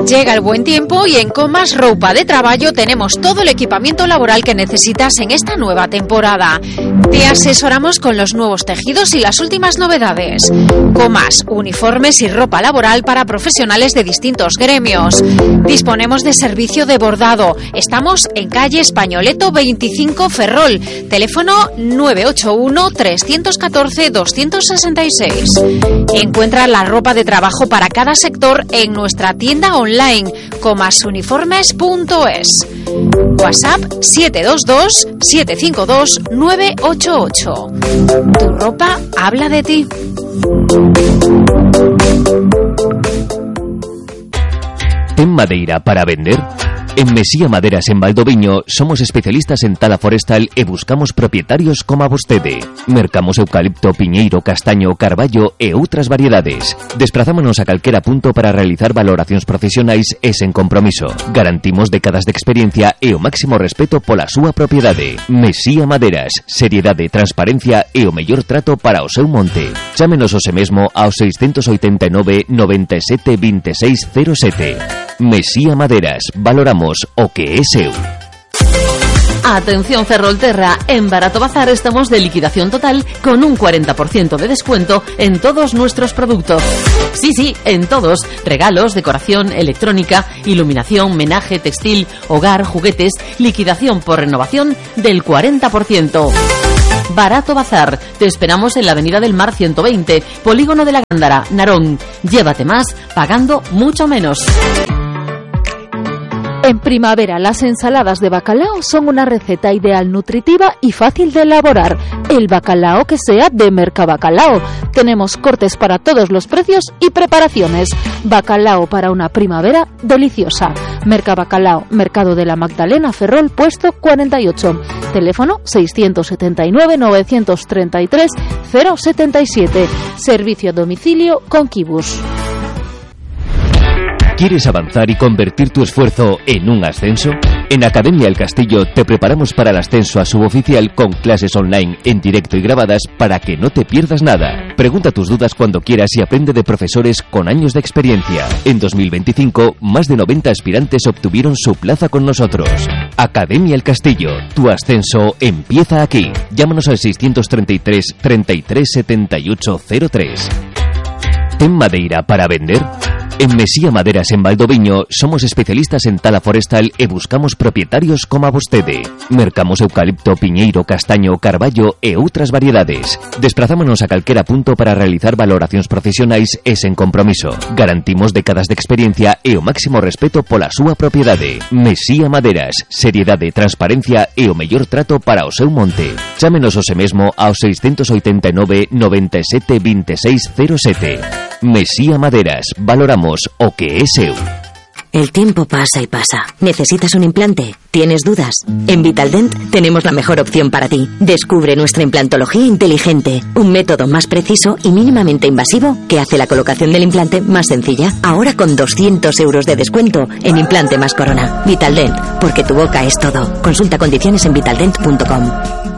Llega el buen tiempo y en Comas Roupa de Traballo tenemos todo el equipamiento laboral que necesitas en esta nueva temporada. Te asesoramos con los nuevos tejidos y las últimas novedades. Comas, uniformes y ropa laboral para profesionales de distintos gremios. Disponemos de servicio de bordado. Estamos en calle Españoleto 25 Ferrol. Teléfono 981 314 266. Encuentra la ropa de trabajo para cada sector en nuestra tienda online comasuniformes.es. WhatsApp 722 752 988. Tu ropa habla de ti. ¿Ten madeira para vender? En Mesía Maderas en Valdoviño somos especialistas en tala forestal e buscamos propietarios como a vostede. Mercamos eucalipto, piñeiro, castaño, carballo e outras variedades. Desprazámonos a calquera punto para realizar valoracións profesionais e sen compromiso. Garantimos décadas de experiencia e o máximo respeto pola súa propiedade. Mesía Maderas, seriedade, transparencia e o mellor trato para o seu monte. Chámenos hoxe mesmo ao 689 97 26 07. Mesía Maderas, valoramos o que é seu. Atención Ferrolterra, en Barato Bazar estamos de liquidación total con un 40% de descuento en todos nuestros productos. Sí, en todos. Regalos, decoración, electrónica, iluminación, menaje, textil, hogar, juguetes, liquidación por renovación del 40%. Barato Bazar, te esperamos en la Avenida del Mar 120, Polígono de la Gándara, Narón. Llévate más, pagando mucho menos. En primavera, las ensaladas de bacalao son una receta ideal, nutritiva y fácil de elaborar. El bacalao que sea de Mercabacalao. Tenemos cortes para todos los precios y preparaciones. Bacalao para una primavera deliciosa. Mercabacalao, Mercado de la Magdalena, Ferrol, puesto 48. Teléfono 679 933 077. Servicio a domicilio con Kibus. ¿Quieres avanzar y convertir tu esfuerzo en un ascenso? En Academia El Castillo te preparamos para el ascenso a suboficial con clases online en directo y grabadas para que no te pierdas nada. Pregunta tus dudas cuando quieras y aprende de profesores con años de experiencia. En 2025, más de 90 aspirantes obtuvieron su plaza con nosotros. Academia El Castillo, tu ascenso empieza aquí. Llámanos al 633 33 78 03. ¿Ten madeira para vender? En Mesía Maderas en Valdoviño somos especialistas en tala forestal e buscamos propietarios como a vostede. Mercamos eucalipto, piñeiro, castaño, carballo e outras variedades. Desprazámonos a calquera punto para realizar valoracións profesionais e sen compromiso. Garantimos décadas de experiencia e o máximo respeto pola súa propiedade. Mesía Maderas, seriedade, transparencia e o mellor trato para o seu monte. Chámenos hoxe mesmo ao 689 97 26 07. Mesía Maderas, valoramos o que es seu. El tiempo pasa y pasa. ¿Necesitas un implante? ¿Tienes dudas? En Vitaldent tenemos la mejor opción para ti. Descubre nuestra implantología inteligente, un método más preciso y mínimamente invasivo que hace la colocación del implante más sencilla. Ahora con 200 euros de descuento en implante más corona. Vitaldent, porque tu boca es todo. Consulta condiciones en vitaldent.com.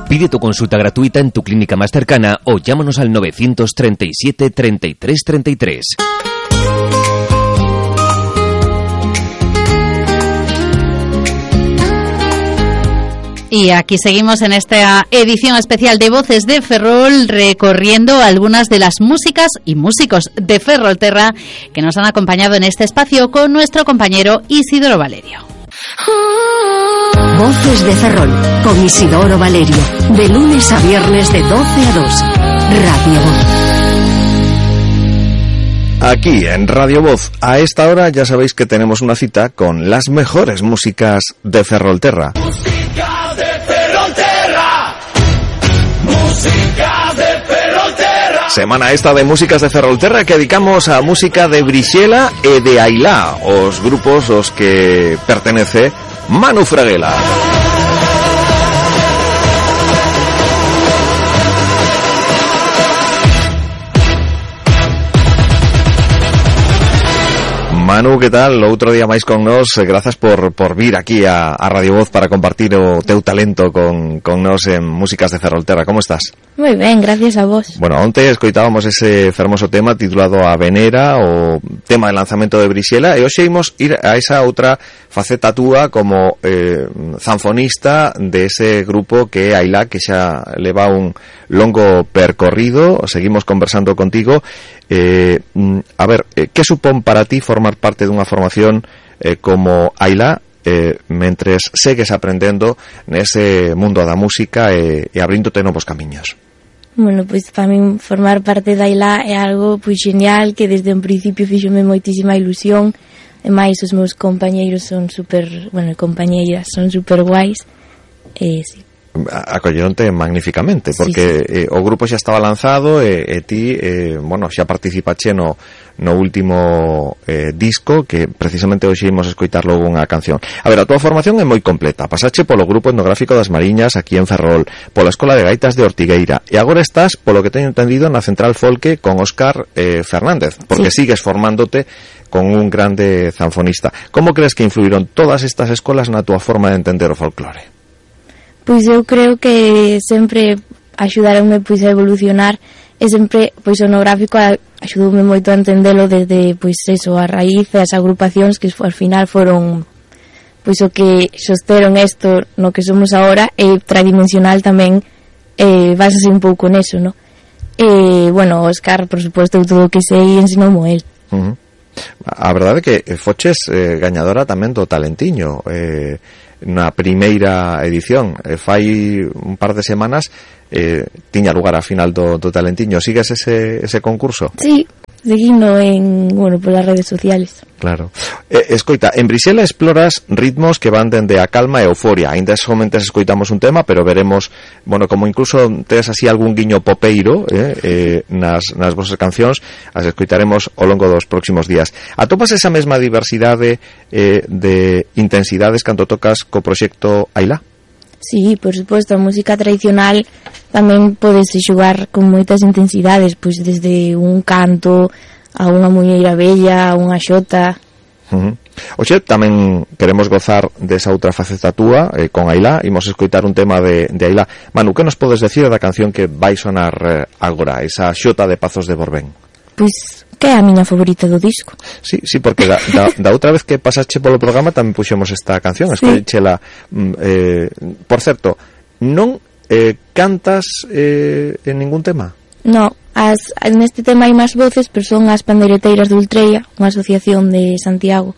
Pide tu consulta gratuita en tu clínica más cercana o llámanos al 937 33 33. Y aquí seguimos en esta edición especial de Voces de Ferrol, recorriendo algunas de las músicas y músicos de Ferrolterra que nos han acompañado en este espacio con nuestro compañero Isidoro Valerio. Voces de Ferrol con Isidoro Valerio, de lunes a viernes de 12 a 2. Radio Voz. Aquí en Radio Voz, a esta hora ya sabéis que tenemos una cita con las mejores músicas de Ferrolterra. Música de Ferrolterra. Música de Ferrolterra. Semana esta de músicas de Ferrolterra que dedicamos a música de Brixela e de Ailá, os grupos aos que pertenece Manu Fraguela. Manu, que tal? Outro día máis con nós, grazas por vir aquí a Radio Voz para compartir o teu talento con nós en músicas de Ferrolterra. Como estás? Moi ben, gracias a vos. Bueno, onte escoitábamos ese fermoso tema titulado A Venera, o tema de lanzamento de Brixela, e hoxe imos ir a esa outra faceta túa como zanfonista de ese grupo que é Ailá, que xa leva un longo percorrido. Seguimos conversando contigo. A ver, que supón para ti formar parte dunha formación como Ailá, mentres segues aprendendo nese mundo da música e abríndote novos camiños? Bueno, pois para min formar parte da Ailá é algo pois genial, que desde un principio fíxome moitísima ilusión, e máis os meus compañeiros son super, bueno, compañeiras son super guais, e sí. Acolleronte magníficamente, porque sí. O grupo xa estaba lanzado e ti, bueno, xa participache no último disco, que precisamente hoxe imos escoitar logo unha canción. A ver, a tua formación é moi completa. Pasache polo Grupo Etnográfico das Mariñas aquí en Ferrol, pola Escola de Gaitas de Ortigueira, e agora estás, polo que teño entendido, na Central Folque con Óscar Fernández, porque sí. Sigues formándote con un grande zanfonista. Como crees que influíron todas estas escolas na tua forma de entender o folclore? Pois eu creo que sempre axudaronme pois a evolucionar, e sempre pois o etnográfico axudoume moito a entendelo desde pois eso, a raíz e as agrupacións que ao final foron pois o que sosteron isto no que somos agora, e tradimensional tamén basase un pouco neso, no? E, bueno, Óscar, por suposto, todo o que sei ensinoumo el. A verdade é que foches gañadora tamén do Talentiño na primeira edición. Fai un par de semanas tiña lugar a final do Talentiño. Sigues ese concurso? Sí, seguindo polas redes sociales. Claro. Escoita, en Brixela exploras ritmos que van dende a calma e euforia. Ainda somente escoitamos un tema, pero veremos, bueno, como incluso tes así algún guiño popeiro nas vosas cancións, as escoitaremos ao longo dos próximos días. Atopas esa mesma diversidade de intensidades cando tocas co proxecto Ailá? Sí, por suposto, a música tradicional tamén podese xogar con moitas intensidades, pois desde un canto a unha muñeira bella, a unha xota. Oxe, tamén queremos gozar desa outra faceta túa con Ailá. Imos escoitar un tema de Ailá. Manu, que nos podes decir da canción que vai sonar agora, esa xota de Pazos de Borbén? Pois que é a miña favorita do disco. Sí, porque da outra vez que pasaste polo programa tamén puxemos esta canción, escoichela. Por certo, non cantas en ningún tema? No, neste tema hai máis voces, pero son as Pandeireteiras de Ultreia, unha asociación de Santiago.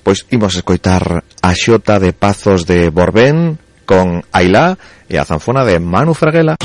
Pois imos escoitar a xota de Pazos de Borbén con Ailá e a zanfona de Manu Fraguela.